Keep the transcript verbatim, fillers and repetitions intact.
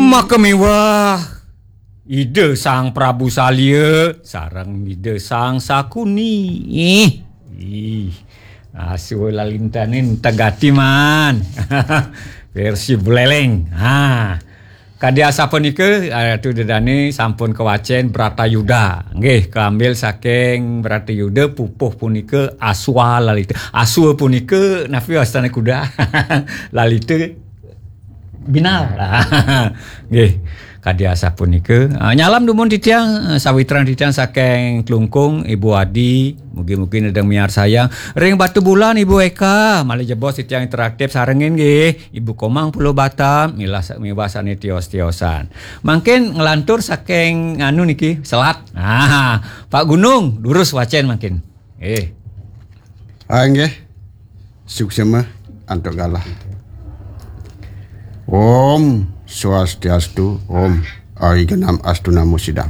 Maka miwah Ida Sang Prabu Salya sareng Ida Sang Sakuni. Ih, ih. Aswa lalintane entegati man. Versi Buleleng. Ha. Kadi asapunika, Ratu Ida Dane sampun kawacen Bratayuda. Nggih, kaambil saking Bratayuda pupuh punika aswa lalita. Aswa punika napi wastane kuda? Lalita binal. Nggih. Kadi asapunika. Ah, nyalam dumun titiang, eh, sawitran titiang saking Klungkung, Ibu Adi, mugi-mugi nedeng miarsayang. Ring Batubulan, Ibu Eka, malih jebos titiang interaktif sarengin nggih. Ibu Komang Pulau Batam, milah sa-, miwah sane tios-tiosan. Mangkin nglantur saking anu niki, selat. Ah, Pak Gunung, durus wacen mangkin. Eh. Ah, nggih. Suksema antuk galah. Om Swastiastu, Om Arigenam Astu Namo Sidam.